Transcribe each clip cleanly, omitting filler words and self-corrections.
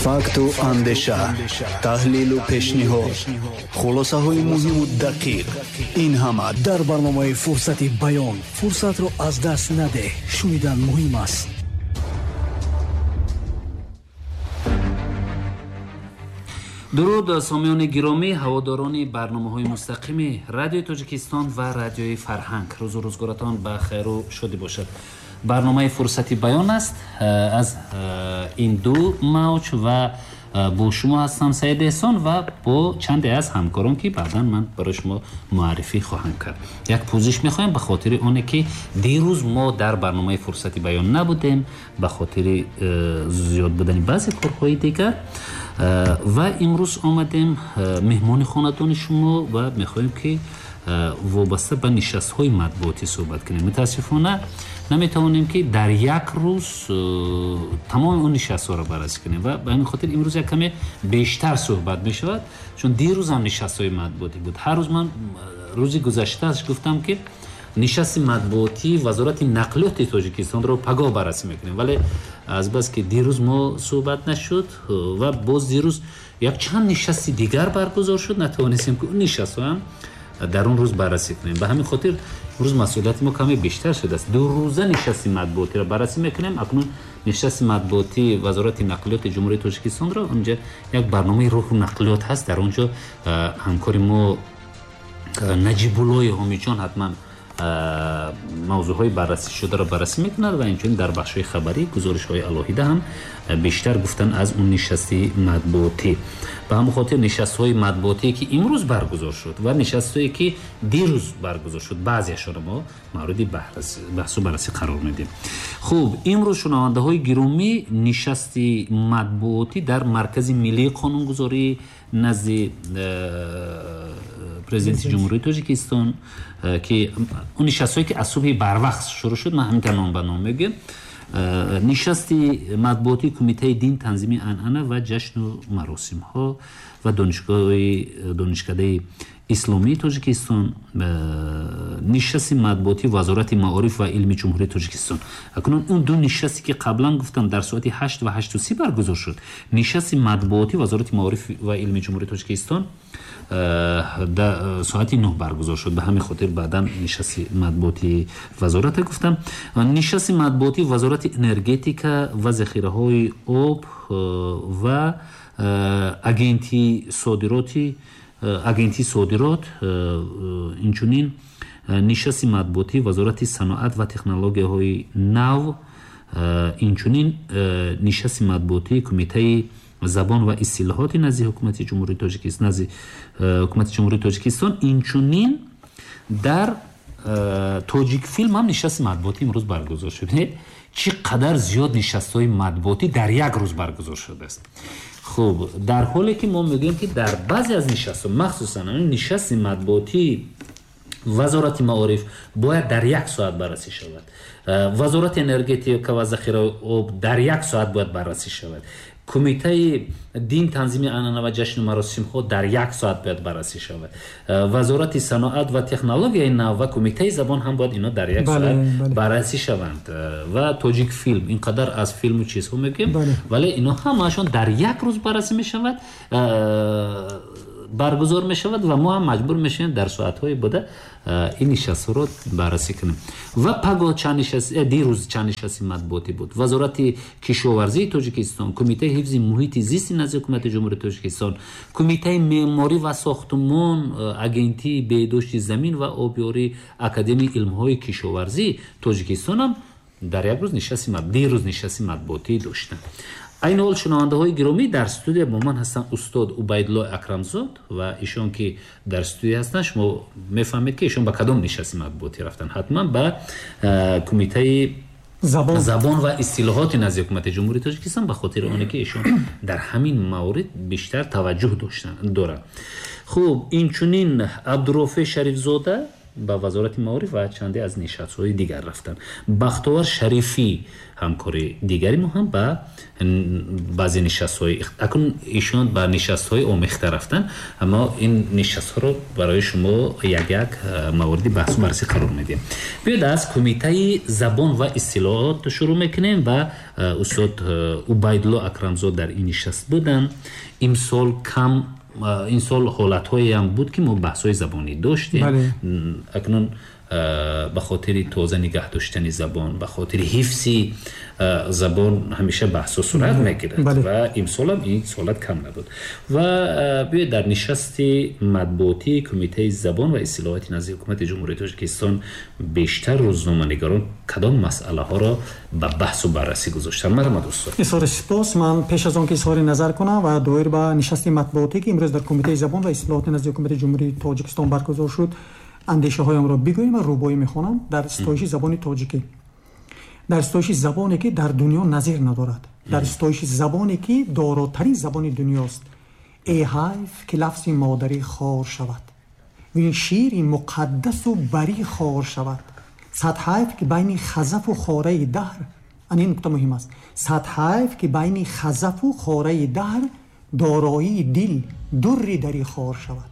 Факту андеша, таҳлилу пешниҳод, хулосаҳои муҳиму дақиқ — ин ҳама дар барномаи «Фурсати баён». Фурсатро аз даст надеҳ, шунидан муҳим аст. Дуруд, сомиёни гиромӣ, ҳаводорони барномаҳои мустақими Радиои Тоҷикистон ва Радиои Фарҳанг. Рӯзу рӯзгоратон ба хайру шодӣ бошад. Барномаи «Фурсати баён» аст аз ин ду мавҷ ва бо шумо ҳастам Саид Эҳсон ва бо чанде аз ҳамкорон, ки баъдан ман барои шумо муаррифӣ хоҳам кард. Як пӯзиш мехоҳем ба хотири оне, ки дирӯз мо дар барномаи «Фурсати баён» набудем ба хотири зиёд будани баъзе корҳои дигар ва имрӯз омадем меҳмони хонадони шумо ва мехоҳем, ки вобаста ба нишастҳои матбуотӣ суҳбат кунем. Мутаассифона, наметавонем, ки дар як рӯз тамоми он нишастҳоро баррасӣ кунем ва ба ҳамин хотир имрӯз як каме бештар суҳбат мешавад, чун дирӯз ҳам нишастҳои матбуотӣ буд. Ҳар рӯз ман рӯзи гузаштааш гуфтам, ки нишасти матбуотии Вазорати нақлиёти Тоҷикистонро пагоҳ баррасӣ мекунем, вале азбаски дирӯз мо суҳбат нашуд ва боз дирӯз якчанд нишасти дигар баргузор шуд, натавонистем, ки он нишастҳоам дар он рӯз баррасӣ кунем. Ба ҳамин хотир имрӯз масъулияти мо каме бештар шудааст. 2 рӯза нишасти матбуотиро баррасӣ мекунем. Акнун нишасти матбуотии Вазорати нақлиёти Ҷумҳурии Тоҷикистонро, онҷа як барномаи роҳу нақлиёт ҳаст, дар он ҷо ҳамкори мо Наҷибуллои Ҳомиҷон ҳатман мавзӯъҳои баррасӣ шударо баррасӣ мекунад ва инчунин дар бахшҳои хабарӣ гузоришҳои алоҳида ҳам бештар гуфтан аз он нишасти матбуотӣ. Ба ҳамон хотир нишастҳои матбуотие, ки имрӯз баргузор шуд, ва нишастҳое, ки дирӯз баргузор шуд, баъзеашонро мо мавриди баҳсу баррасӣ қарор медиҳем. Хуб, имрӯз, шунавандаҳои гиромӣ, нишасти матбуотӣ дар Маркази миллии қонунгузорӣ назди Президенти Ҷумҳурии Тоҷикистон, ки он нишастҳое, ки аз субҳи барвақт шурӯъ шуд, ман ҳаминтар ном ба ном мегӯям: нишасти матбуотии Кумитаи дин, танзими анъана ва ҷашну маросимҳо ва донишгоҳи Донишкадаи исломии Тоҷикистон, нишасти матбуотии Вазорати маориф ва илми Ҷумҳурии Тоҷикистон. Акнун он ду нишасте, ки қаблан гуфтам, дар соати 8 ва 8:30 баргузор шуд. Нишасти матбуотии Вазорати маориф ва илми Ҷумҳурии Тоҷикистон соати 9 баргузор шуд. Ба ҳамин хотир баъдан нишасти матбуотии вазората гуфтам. Нишасти матбуотии Вазорати энергетика ва захираҳои об ва агентии содироти, агентии содирот, инчунин нишасти матбуотии Вазорати саноат ва технологияҳои нав, инчунин нишасти матбуотии Кумитаи забон ва истилоҳоти назди ҳукумати Ҷумҳурии Тоҷикистон, назди ҳукумати Ҷумҳурии Тоҷикистон. Инчунин дар Тоҷикфилм ҳам нишасти матбуотӣ имрӯз баргузор шуд. Чӣ қадар зиёд нишастҳои матбуотӣ дар як рӯз баргузор шудааст! Хуб, дар ҳоле ки мо мегӯем, ки дар баъзе аз нишастҳо, махсусан нишасти матбуотии Вазорати маориф бояд дар як соат баррасӣ шавад, Вазорати энергетика ва захираи об дар як соат бояд баррасӣ шавад, Кумитаи дин, танзими анъана ва ҷашну маросимҳо дар як соат бояд баррасӣ шавад, Вазорати саноат ва технологияи нав ва Кумитаи забон ҳам бояд ино дар як соат баррасӣ шаванд ва Тоҷикфилм, ин қадар аз филму чизҳо мегӯем, вале ино ҳамаашон дар як рӯз баррасӣ мешавад, баргузор мешавад ва мо ҳам маҷбур мешавем дар соатҳои буда ин нишастҳоро баррасӣ кунем. Ва паго чанд нишаст, дирӯз чанд нишасти матбуотӣ буд: Вазорати кишоварзии Тоҷикистон, Кумитаи ҳифзи муҳити зисти назди ҳукумати Ҷумҳурии Тоҷикистон, Кумитаи меъморӣ ва сохтумон, Агентии беҳдошти замин ва обёрӣ, Академияи илмҳои кишоварзии Тоҷикистон ҳам дар як рӯз нишасти, дирӯз нишасти матбуотӣ доштанд. Айни ҳол, шунавандаҳои гиромӣ, дар студия бо ман ҳастанд устод Убайдулло Акрамзод ва ишон, ки дар студия ҳастанд, шумо мефаҳмед, ки ишон ба кадом нишасти матбуотӣ рафтанд. Ҳатман ба Кумитаи забон ва истилоҳоти назди ҳукумати Ҷумҳурии Тоҷикистон, ба хотири оне ки ишон дар ҳамин маврид бештар таваҷҷӯҳ доранд. Хуб, инчунин Абдурофе Шарифзода. ба вазорати маориф ва чанде аз нишастҳои дигар рафтанд. Бахтовар Шарифӣ, ҳамкори дигари мо, ҳам ба баъзе нишастҳои, акнун ишон ба нишастҳои омехта рафтанд, аммо ин нишастҳоро барои шумо як як мавриди баҳсу баррасӣ қарор медиҳем. Биёед, аз Кумитаи забон ва истилоҳот шурӯъ мекунем ва устод Убайдулло Акрамзод дар ин нишаст буданд. Имсол кам, ин сол ҳолатҳоеам буд, ки мо баҳсҳои забонӣ доштем. Акнун ба хотири тоза нигаҳ доштани забон, ба хотири ҳифзи забон ҳамеша баҳсҳо сурат мегирад ва имсолам ин ҳолат кам набуд. Ва биёед, дар нишасти матбуотии Кумитаи забон ва истилоҳоти назди Ҳукумати Ҷумҳурии Тоҷикистон бештар рӯзноманигорон кадом масъалаҳоро ба баҳсу баррасӣ гузоштанд? Марҳамат, устод. Изҳори сипос. Ман пеш аз он ки изҳори назар кунам ва доир ба нишасти матбуотӣ, ки имрӯз дар Кумитаи забон ва истилоҳоти назди Ҳукумати Ҷумҳурии Тоҷикистон баргузор шуд, андешаҳоямро бигӯем ва рубоӣ мехонам дар ситоиши забони тоҷикӣ, дар ситоиши забоне, ки дар дунё назир надорад, дар ситоиши забоне, ки доротарин забони дунёст. Э ҳайф, ки лафзи модарӣ хор шавад, вин шири муқаддасу барӣ хор шавад. Сад ҳайф, ки байни хазафу хораи даҳр, ан ин нукта муҳим аст, сад ҳайф, ки байни хазафу хораи даҳр дороии дил дурри дарӣ хор шавад.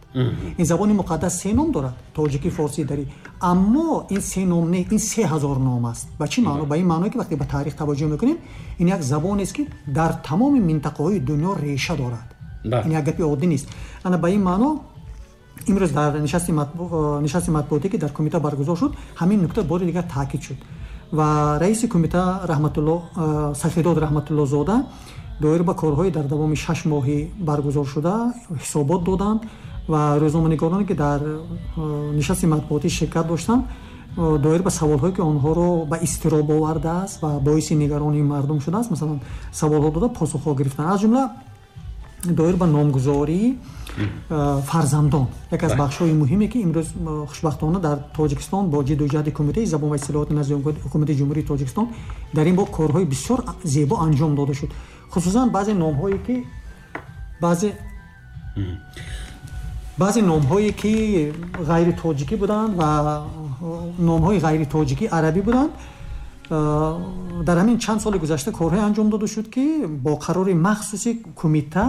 Ин забони муқаддас се ном дорад: тоҷикӣ, форсӣ, дарӣ. Аммо ин се ном не, ин 3000 ном аст. Ба чӣ маъно? Ба ин маъное, ки вақте ба таърих таваҷҷӯҳ мекунем, ин як забонест, ки дар тамоми минтақаҳои дунё реша дорад. Ин як гапи оддӣ нест. Ана ба ин маъно имрӯз дар нишасти матбуотӣ, ки дар кумита баргузор шуд, ҳамин нукта бори дигар таъкид шуд ва раиси кумита Раҳматулло, Сафидод Раҳматуллозода доир ба корҳои дар давоми 6 моҳи баргузоршуда ҳисобот доданд ва рӯзноманигороне, ки дар нишасти матбуотӣ ширкат доштанд, доир ба саволҳое, ки онҳоро ба изтироб овардааст ва боиси нигаронии мардум шудааст, масалан, саволҳо дода, посухҳо гирифтанд. Аз ҷумла доир ба номгузории фарзандон, яке аз бахшҳои муҳиме, ки имрӯз хушбахтона дар Тоҷикистон бо ҷидду ҷаҳди Кумитаи забон ва истилоҳоти назди Ҳукумати Ҷумҳурии Тоҷикистон дар ин боб корҳои бисёр зебо анҷом дода шуд, хусусан баъзе номҳое, ки ғайритоҷикӣ буданд ва номҳои ғайритоҷикӣ арабӣ буданд. Дар ҳамин чанд соли гузашта корҳое анҷом дода шуд, ки бо қарори махсуси кумита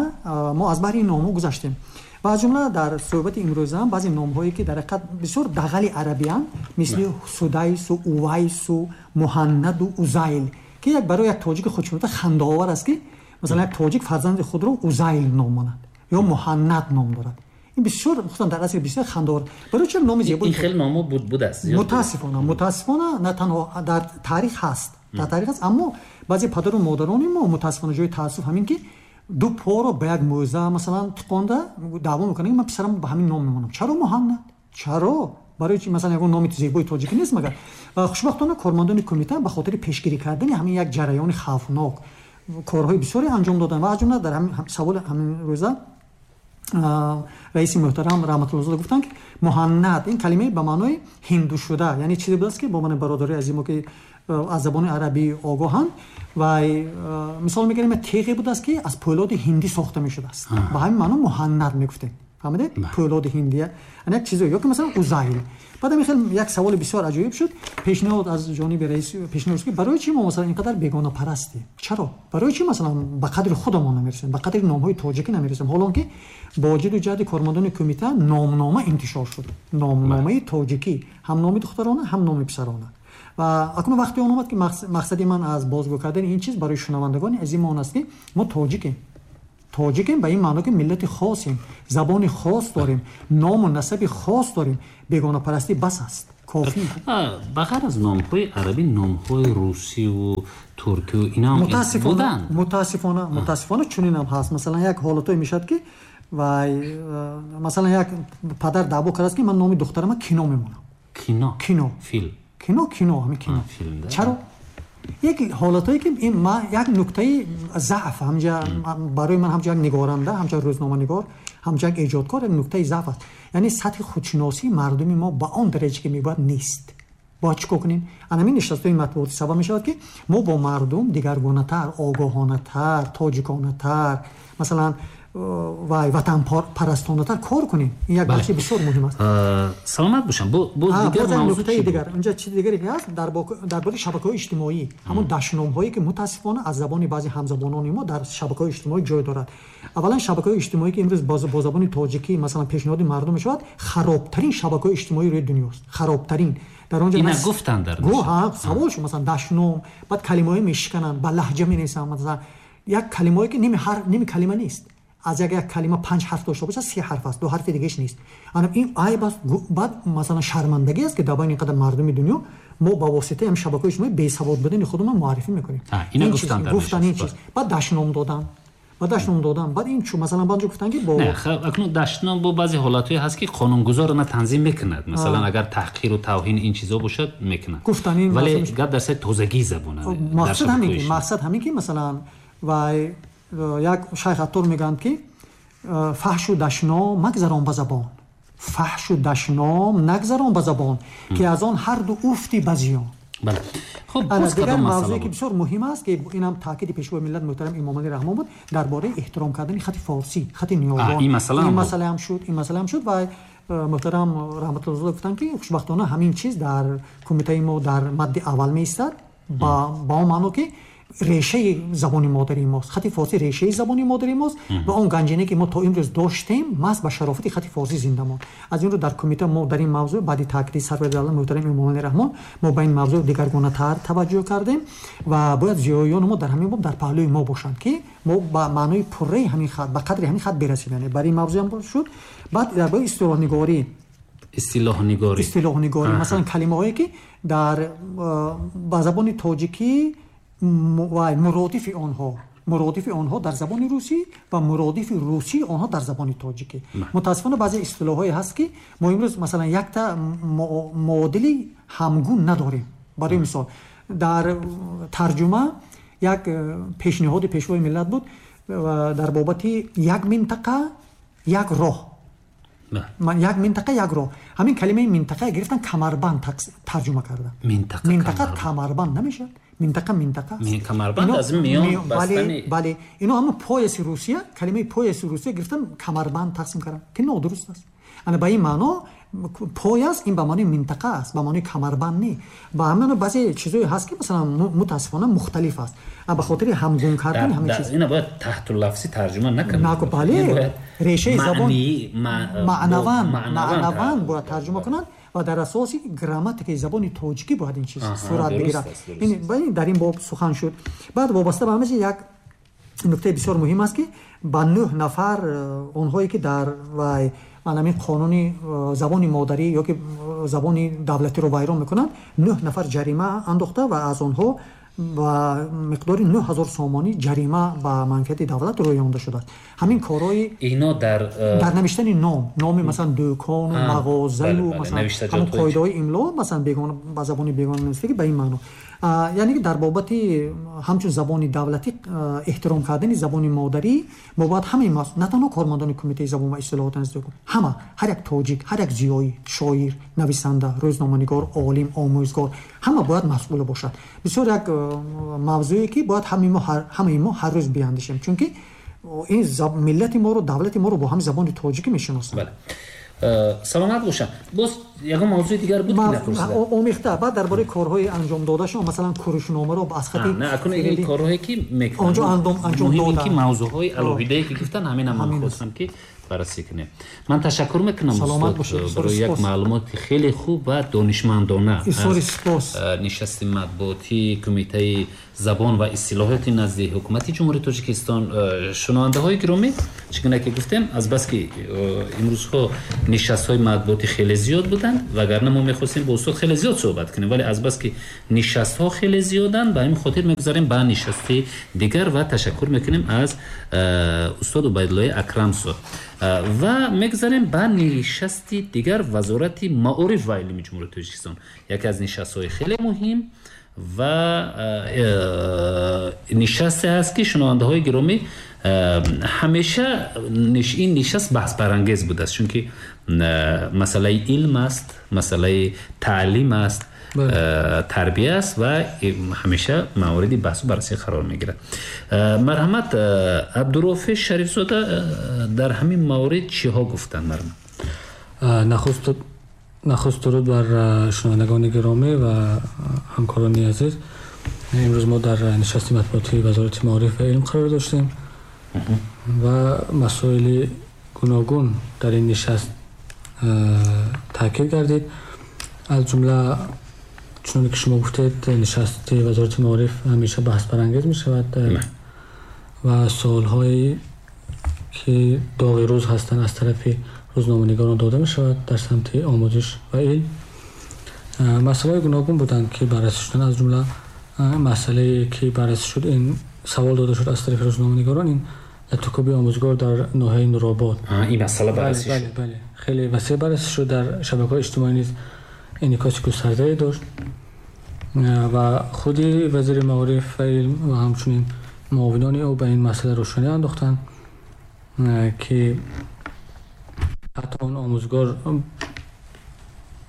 мо аз баҳри ин номҳо гузаштем ва аз ҷумла дар суҳбати имрӯзаам баъзе номҳое, ки дар ҳақиқат бисёр дағали арабиянд, мисли Судайсу, Увайсу, Муҳаннаду Узайл, ки як барои як тоҷики худшинота хандаовар аст, ки масалан як тоҷик фарзанди худро Узайл ном монад ё Муҳаннад ном дорад. Ин бисёр, хусусан дар асри бисёр хандаовар. Барои чӣ номи зебо? Ин хел номо будааст? Мутаассифона, на танҳо дар таърих ҳаст, дар таърих ҳаст, аммо баъзе падару модарони мо, мутаассифона, ҷои таассуф ҳамин, ки ду поро ба як мӯза масалан тиқонда даъво мекунанд, ки ман писарам ба ҳамин ном мемонам. Чаро Муҳаннад? Чаро? Барои чи? Масалан, ягон номи зебои тоҷикӣ нест магар? Ва хушбахтона кормандони кумита ба хотири пешгирӣ кардани ҳамин як ҷараёни хавфнок корҳои бисёре анҷом доданд ва аз ҷумла дар ҳамин саволи ҳамин рӯза раиси муҳтарам Раҳматуллозода гуфтанд, ки Муҳаннад ин калимаи ба маънои ҳинду шуда, яъне чизе будааст, ки бо мани бародари азимо, ки аз забони арабӣ огоҳанд, ва мисол мегирем, теғе будааст, ки аз пӯлоди ҳиндӣ сохта мешудааст. Ба ҳамин маъно Муҳаннад мегуфтем, фаҳмидед? Пӯлоди ҳиндия, як чизе, ё ки масалан Узайл. Баъд ҳамин хел як саволи бисёр аҷоиб шуд, пешниҳод аз ҷониби раис пешниҳод шуд, ки барои чӣ мо масалан ин қадар бегонапарастем? Чаро? Барои чӣ масалан ба қадри худамон намерасем, ба қадри номҳои тоҷикӣ намерасем, ҳолон ки бо ҷидду ҷаҳди кормандони кумита номнома интишор шуд, номномаи тоҷикӣ, ҳам номи духтарона, ҳам номи писарона. Ва акнун вақте он омад, ки мақсади ман аз бозгӯ кардани ин чиз барои шунавандагони азими он аст, ки мо тоҷикем. Тоҷикем ба ин маъно, ки миллати хосем, забони хос дорем, ному насаби хос дорем. Бегонапарастӣ бас аст, кофӣ. Ба ғайр аз номҳои арабӣ, номҳои русиву туркию инам буданд? Мутаассифона, чунинам ҳаст. Масалан, як ҳолатое мешавад, ки вай масалан як падар даъво кардааст, ки ман номи духтарама Кино мемонам. Кино? Кино. Филм? Кино, ҳамин Кино. Чаро? Як ҳолатое, ки ин як нуктаи заъф ҳамҷа барои ман, ҳамчун як нигоранда, ҳамчун рӯзноманигор, ҳамчун як эҷодкор, як нуктаи заъф аст, яъне сатҳи худшиносии мардуми мо ба он дараҷа, ки мебояд, нест. Бояд чӣ кор кунем? Ана ҳамин нишастҳои матбуотӣ сабаб мешавад, ки мо бо мардум дигаргунатар, огоҳонатар, тоҷиконатар, масалан, ва ватанпарастонатар кор кунем. Ин як бахши бисёр муҳим аст. Саломат бошам. Боз дигар мавзӯи дигар инҷа чизи дигаре ки ҳаст, дар бораи шабакаҳои иҷтимоӣ, ҳамон дашномҳое ки мутаассифона аз забони баъзе ҳамзабонони мо дар шабакаҳои иҷтимоӣ ҷой дорад. Аввалан, шабакаҳои иҷтимоӣ, ки имрӯз бо забони тоҷикӣ, масалан, пешниҳоди мардум мешавад, харобтарин шабакаҳои иҷтимоии рӯи дунёст, харобтарин. Дар онҷо ина гуфтанд дар савол шуд, масалан, дашном, баъд калимаҳое мешикананд, ба лаҳҷа менависанд, масалан, як калимаҳое ки ними ҳарф, ними калима нест. Аз як калима 5 ҳарф дошта бошад, 3 ҳарф аст, 2 ҳарфи дигааш нест. Ана ин айб аст. Баъд, масалан, шармандагӣ аст, ки дар байни ин қадар мардуми дунё мо ба воситаи ҳамин шабакаҳои иҷтимоӣ бесавод будани худамон муаррифӣ мекунем. Ина гуфтанд ин чиз. Баъд дашном додан, баъд ин чу, масалан, баъд гуфтанд ки бо не, акнун дашном бо баъзе ҳолатҳое ҳаст, ки қонунгузор на танзим мекунад. Масалан, агар таҳқиру тавҳин ин чизо бошад, мекунад. Гуфтанд ин, вале гап дар сари тозагии забон. Мақсад ҳамин ки, масалан, вай як шайх Аттор мегӯянд, ки фаҳшу дашном магзарон ба забон, фаҳшу дашном нагзарон ба забон, ки аз он ҳар ду уфти ба зиён. Бале. Хуб, дигар мавзӯе ки бисёр муҳим аст, ки инам таъкиди пешвои миллат муҳтарам Эмомалӣ Раҳмон буд, дар бораи эҳтиром кардани хати форсӣ, хати ниёгон. Ин масъала ҳам шуд, ин масъала ҳам шуд ва муҳтарам Раҳматуллозода гуфтанд, ки хушбахтона ҳамин чиз дар кумитаи мо дар мадди аввал меистад, ба он маъно ки решаи забони модарии мост, хати форсӣ решаи забони модарии мост ва он ганҷине ки мо то имрӯз доштем, маст ба шарофати хати форсӣ зинда монд. Аз ин рӯ дар кумита мо дар ин мавзӯъ баъди таъкиди сарвари давлат муҳтарам Эмомалӣ Раҳмон мо ба ин мавзӯъ дигаргунатар таваҷҷӯҳ кардем ва бояд зиёиёни мо дар ҳамин боб дар паҳлӯи мо бошанд, ки мо ба маънои пурраи ҳамин хат, ба қадри ҳамин хат бирасем. Яъне бар ин мавзӯъ ҳам шуд. Баъд дар бораи истилоҳнигорӣ, масалан, калимаҳое ки дар ба забони тоҷикӣ ва муродифи онҳо дар забони русӣ ва муродифи русии онҳо дар забони тоҷикӣ. Мутаассифона баъзе истилоҳҳое ҳаст, ки мо имрӯз, масалан, якта муодили ҳамгун надорем. Барои мисол, дар тарҷума як пешниҳоди пешвои миллат буд дар бобати як минтақа як роҳ. Як минтақа як роҳ. Ҳамин калимаи минтақа гирифтан, камарбанд тарҷума кардан. Минтақа камарбанд намешавад. Минтақа аст. Камарбанд аз миён бастани. Бале, ино ҳамон пояси Русия, калимаи пояси Русия гирифтан, камарбанд тақсим кардан, ки нодуруст аст. Ана ба ин маъно пояс ин ба маънои минтақа аст, ба маънои камарбанд не. Ба ҳамин баъзе чизое ҳаст, ки масалан мутаассифона мухталиф аст. Ба хотири ҳамгун кардан ҳамин чиз. Ина бояд таҳтуллафзӣ тарҷума накунанд. Бале, решаи забон маънаван бояд тарҷума кунанд ва дар асоси грамматикаи забони тоҷикӣ бояд ин чиз сурат бигирад. Дар ин боб сухан шуд. Баъд вобаста ба ҳама чиз як нуктаи бисёр муҳим аст, ки ба 9 нафар онҳое ки дар вай ҳамин қонуни забони модарӣ ё ки забони давлатиро вайрон мекунанд, 9 нафар ҷарима андохта ва аз онҳо ба миқдори 9000 сомонӣ ҷарима ба манфиати давлат рӯёнда шудааст. Ҳамин корҳои ино дар навиштани номи, масалан, дӯкону мағозаю, масалан, ҳамон қоидаҳои имло, масалан, бегона ба забони бегона навиштагӣ, ба ин маъно. Яъне ки дар бобати ҳамчун забони давлатӣ эҳтиром кардани забони модарӣ мо бояд ҳамаи на танҳо кормандони кумитаи забон ва истилоҳот назди ҳама, ҳар як тоҷик, ҳар як зиёӣ, шоир, нависанда, рӯзноманигор, олим, омӯзгор, ҳама бояд масъул бошад. Бисёр як мавзӯе ки бояд ҳамаи мо ҳар рӯз биандешем, чунки ин миллати моро, давлати моро бо ҳамин забони тоҷикӣ мешиносанд. Саломат бошам. Боз ягон мавзӯи дигар буд, ки напурсидам? Омехта. Баъд дар бораи корҳои анҷомдодашон, масалан, курушномаро аз хати не, акун ин корҳое ки мекунанд, онҷо анҷом дода, ки мавзӯъҳои алоҳидае ки гуфтан, ҳамин ман хостам ки баррасӣ кунем. Ман ташаккур мекунам устод барои як маълумоти хеле хуб ва донишмандона аз нишасти матбуотии кумитаи забон ва истилоҳоти назди ҳукумати Ҷумҳурии Тоҷикистон. Шунавандаҳои гиромӣ, чӣ гуна ки гуфтем, азбаски имрӯзҳо нишастҳои матбуотӣ хеле зиёд буданд, вагарна мо мехостем бо устод хеле зиёд суҳбат кунем, вале азбаски нишастҳо хеле зиёданд, ба ҳамин хотир мегузарем ба нишасти дигар ва ташаккур мекунем аз устод Убайдуллои Акрамсо ва мегузарем ба нишасти дигар Вазорати маориф ва илми Ҷумҳурии Тоҷикистон. Яке аз нишастҳои хеле муҳим ва нишасте аст, ки шунавандаҳои гиромӣ, ҳамеша ин нишаст баҳсбарангез будааст, чунки масъалаи илм аст, масъалаи таълим аст. Тарбия аст ва ҳамеша мавриди баҳсу баррасӣ қарор мегирад. Марҳамат, Абдурофеъ Шарифзода дар ҳамин маврид чиҳо гуфтанд? Марҳамат. Нахуст дуруд бар шунавандагони гиромӣ ва ҳамкорони азиз. Имрӯз мо дар нишасти матбуотии Вазорати маориф ва илм қарор доштем ва масоили гуногун дар ин нишаст таъкид гардид. Аз ҷумла, чуноне ки шумо гуфтед, нишасти Вазорати маориф ҳамеша баҳсбарангез мешавад ва суолҳое ки доғи рӯз ҳастанд, аз тарафи рӯзноманигорон дода мешавад дар самти омӯзиш ва илм. Масъалаҳои гуногун буданд, ки баррасӣ шуданд. Аз ҷумла масъалае ки баррасӣ шуд, ин савол дода шуд аз тарафи рӯзноманигорон, ин латукӯби омӯзгор дар ноҳияи Нуробод. Ин масъала баррасӣ шуд? Бале, хеле васеъ баррасӣ шуд. Дар шабакаҳои иҷтимоӣ низ инъикоси густардае дошт ва худи вазири маориф ва илм ва ҳамчунин муовинони ӯ ба ин масъала рӯшанӣ андохтанд, ки ҳатто он омӯзгор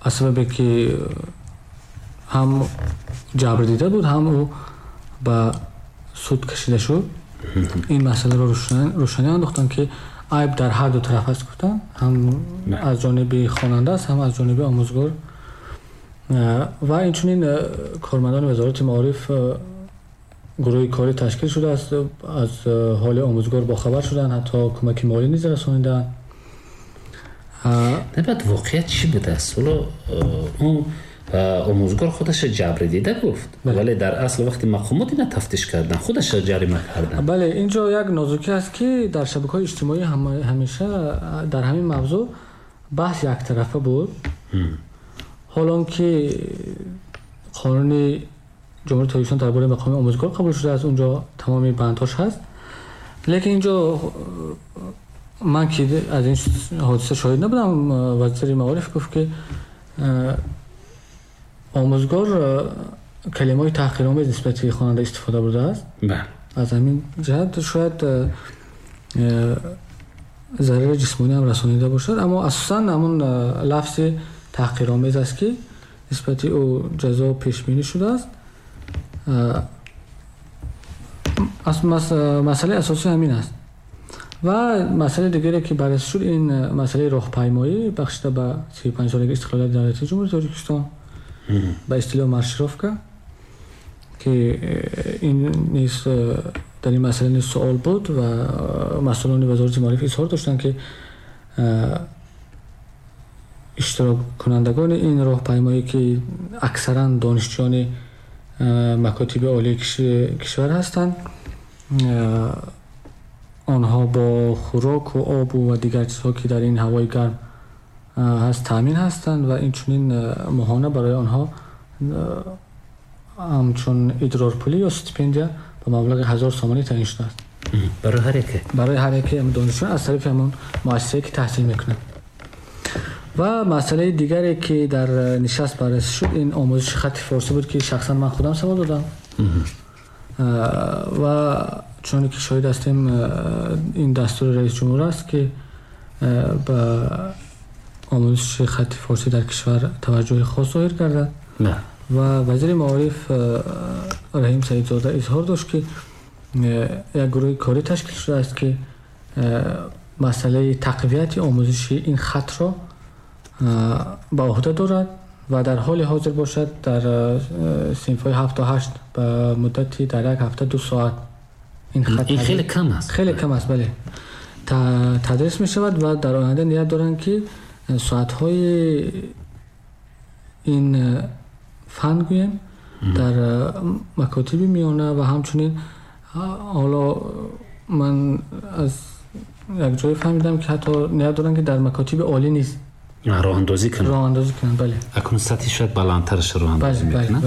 аз сабабе ки ҳам ҷабр дида буд, ҳам ӯ ба суд кашида шуд, ин масъаларо рӯшанӣ андохтанд, ки айб дар ҳар ду тараф аст, гуфтанд, ҳам аз ҷониби хонанда аст, ҳам аз ҷониби омӯзгор. Ва инчунин кормандони Вазорати маориф гурӯҳи корӣ ташкил шудааст, аз ҳоли омӯзгор бохабар шуданд, ҳатто кӯмаки молӣ низ расониданд. Баъд воқеият чӣ будааст? Ҳоло он омӯзгор худаша ҷабр дида гуфт, вале дар асл вақти мақомот ина тафтиш кардан, худаша ҷарима кардан. Бале, инҷо як нозукӣ аст, ки дар шабакаҳои иҷтимоӣ ҳамеша дар ҳамин мавзӯъ баҳс яктарафа буд, ҳолон ки қонуни Ҷумҳурии Тоҷикистон дар бораи мақоми омӯзгор қабул шудааст, унҷо тамоми бандҳош ҳаст. Лекин инҷо ман ки аз ин ҳодиса шоҳид набудам, вазири маориф гуфт, ки омӯзгор калимаҳои таҳқиромез нисбати хонанда истифода бурдааст. Аз ҳамин ҷиҳат шояд зарари ҷисмонӣ ҳам расонида бошад, аммо асосан ҳамон лафзи таҳқиромез аст, ки нисбати ӯ ҷазо пешбинӣ шудааст. Масъалаи асосӣ ҳамин аст. Ва масъалаи дигаре ки баррасӣ шуд, ин масъалаи роҳпаймоӣ бахшида ба 35-солагии истиқлолияти давлатии Ҷумҳурии Тоҷикистон, ба истилоҳ маршировка, ки ин низ дар ин масъала низ суол буд ва масъулони Вазорати маориф изҳор доштанд, ки иштироккунандагони ин роҳпаймоӣ, ки аксаран донишҷӯёни макотиби олии кишвар ҳастанд, онҳо бо хӯроку обу ва дигар чизҳо, ки дар ин ҳавои гарм ҳаст, таъмин ҳастанд ва инчунин моҳона барои онҳо ҳамчун идрорпулӣ ё стипендия ба маблағи 1000 сомонӣ таъин шудааст. Барои ҳар яке? Барои ҳар яке донишҷӯён аз тарафи ҳамон муассисае, ки таҳсил мекунанд. Ва масъалаи дигаре, ки дар нишаст баррасӣ шуд, ин омӯзиши хатти форсӣ буд, ки шахсан ман худам савол додам. Ва чуноне ки шоҳид ҳастем, ин дастури раис ҷумҳур аст, ки ба омӯзиши хатти форсӣ дар кишвар таваҷҷӯҳи хос зоҳир кардад. Ва вазири маориф Раҳим Саидзода изҳор дошт, ки як гурӯҳи корӣ ташкил шудааст, ки масъалаи тақвияти омӯзиши ин хатро ба ӯҳда дорад ва дар ҳоли ҳозир бошад, дар синфҳои 7 то 8 ба муддати дар як ҳафта 2 соат ин хат ин хеле кам аст. Хеле кам аст, бале, тадрис мешавад ва дар оянда ният доранд, ки соатҳои ин фан гӯем дар макотиби миёна ва ҳамчунин ҳоло ман аз як ҷое фаҳмидам, ки ҳатто ният доранд, ки дар макотиби олӣ низ роҳандозӣ кунанд. Роҳандозӣ кунанд, бале. Акнун сатҳи шояд баландтараш роҳандозӣ мекунанд.